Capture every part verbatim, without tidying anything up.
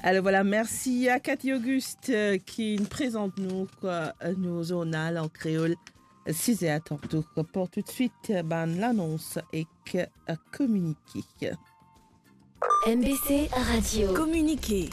Alors voilà, merci à Cathy Auguste, euh, qui nous présente nous, quoi, euh, nos journal en créole. Six heures tantôt, pour tout de suite, euh, ben, l'annonce et que, euh, communiqué. M B C Radio. Communiqué.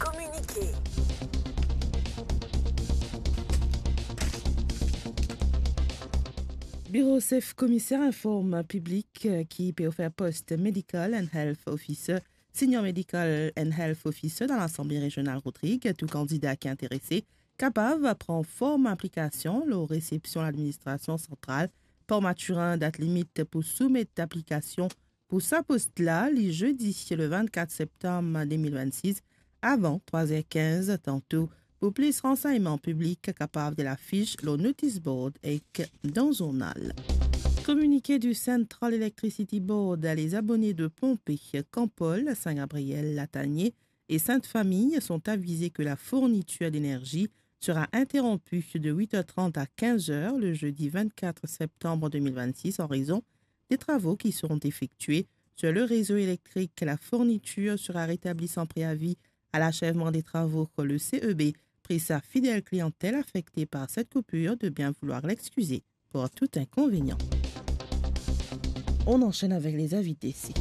Biro sef komiser inform piblik, euh, ki pe ofer post Medical and Health Officer, Senior Medical and Health Officer dan Lasanble Rezional Rodrig. Tou kandida ki interese kapav pran form aplikasion lor resepsion ladministrasion santral Port Mathurin. Dat limit pou soumet aplikasion pou sa post la, li zedi le vennkat septam de mil vennsis, avan trwa er kinz. Tanto, pou plis ransegnman, piblik kapav get lafis lor notice board ek dan zournal. Communiqué du Central Electricity Board à les abonnés de pompes Campol, Saint-Gabriel, Latanier et Sainte-Famille sont avisés que la fourniture d'énergie sera interrompue de huit heures trente à quinze heures le jeudi vingt-quatre septembre deux mille vingt-six en raison des travaux qui seront effectués sur le réseau électrique. La fourniture sera rétablie sans préavis à l'achèvement des travaux. Le C E B prie sa fidèle clientèle affectée par cette coupure de bien vouloir l'excuser pour tout inconvénient. On enchaîne avec les avis décès.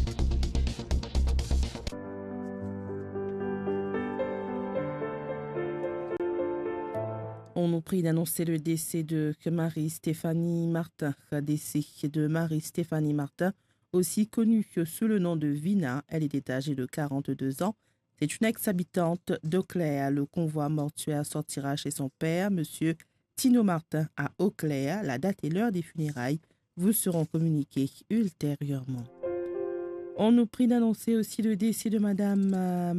On nous prie d'annoncer le décès de Marie-Stéphanie Martin. Décès de Marie-Stéphanie Martin, aussi connue que sous le nom de Vina. Elle était âgée de quarante-deux ans. C'est une ex-habitante d'Eau-Claire. Le convoi mortuaire sortira chez son père, monsieur Tino Martin, à Eau-Claire. La date et l'heure des funérailles vous seront communiquées ultérieurement. On nous prie d'annoncer aussi le décès de madame, euh,